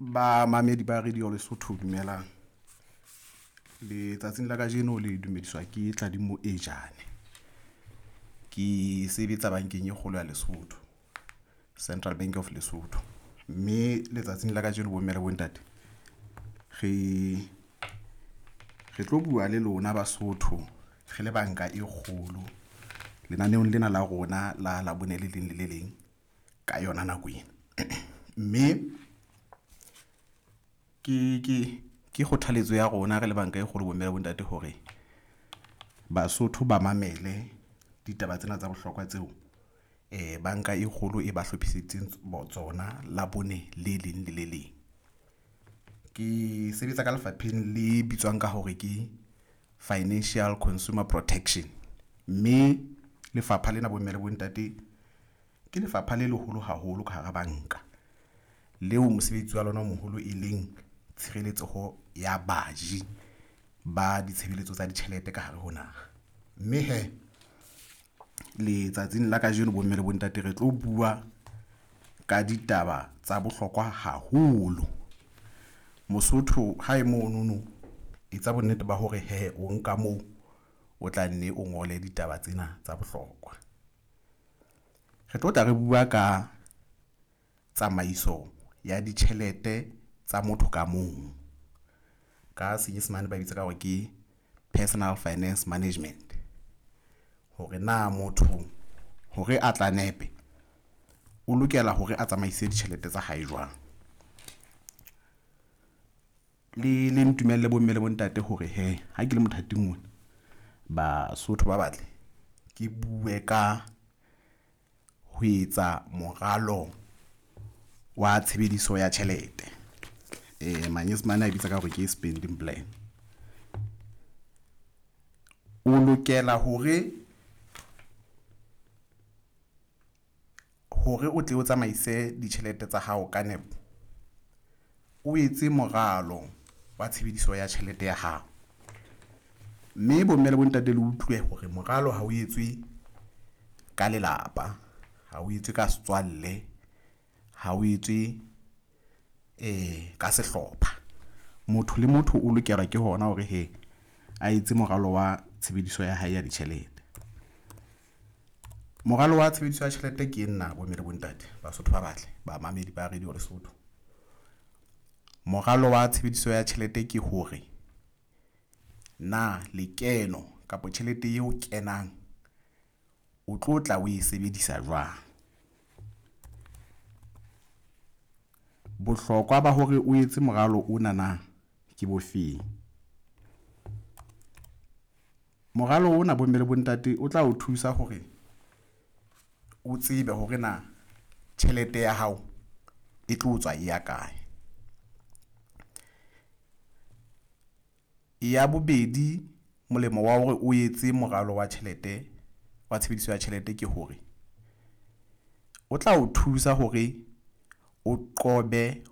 Bamamedi ba Radio Lesotho dumelang letsatsing la kajeno le dumediswa ke Tladi Moejane. Ke sebetsa bankeng e kgolo ya Lesotho, Central Bank of Lesotho, mme letsatsing la kajeno bomme le bontate re tlo bua le lona Basotho re le banka e kgolo lenaneong lena la rona la Labone le leng le le leng ka yona nako ena, mme ke kgothaletso ya rona re le banka e kgolo bomme le bontate hore Basotho ba mamele ditaba tsena tsa bohlokwa tseo banka e kgolo e ba hlophisitseng tsona Labone le leng le le leng. Ke sebetsa ka lefapheng le bitswang ka hore ke Financial Consumer Protection, mme lefapha lena bomme le bontate ke lefapha le leholo haholo ka hara banka leo mosebetsi wa lona o moholo e leng tshireletseho ya baji ba ditshebeletso tsa ditjhelete ka hare ho naha. Mme hee letsatsing la kajeno bomme le bontate re tlo bua ka ditaba tsa bohlokwa haholo. Mosotho hae monono etsa bonnete ba hore hee o nka moo o tla nne o ngole ditaba tsena tsa bohlokwa. Re tlo tla re bua ka tsamaiso ya ditjhelete tsa motho ka mong ka Senyesemane ba bitsa ka hore ke personal finance management hore na motho hore a tla nepe o lokela hore a tsamaise ditjhelete tsa hae jwang. Le ntumelle bomme le bontate hore hee ha ke le mothating ona Basotho ba batle ke bue ka ho etsa moralo wa tshebediso ya tjhelete manyesemane a bitsa ka hore ke spending plan. O lokela hore o tle o tsamaise ditjhelete tsa hao ka nepo, o etse moralo wa tshebediso ya tjhelete ya hao, mme bomme le bontate le utlwe hore moralo ha o etswe ka lelapa, ha o etswe ka setswalle, ha o etswe ka sehlopha. Motho le motho o lokela ke hona hore hee a etse moralo wa tshebediso ya hae ya ditjhelete. Moralo wa tshebediso ya tjhelete ke nna bomme le bontate Basotho ba batle bamamedi ba Radio Lesotho. Moralo wa tshebediso ya tjhelete ke hore na lekeno kapa tjhelete eo kenang o tlo tla o e sebedisa jwang. Bohlokwa ba hore o etse moralo ona na ke bofeng? Moralo ona bomme le bontate o tla o thusa hore o tsebe hore na tjhelete ya hao e tlo tswa e ya kae. Ya bobedi, molemo wa hore o etse moralo wa tjhelete wa tshebediso ya tjhelete ke hore o tla o thusa hore o qobe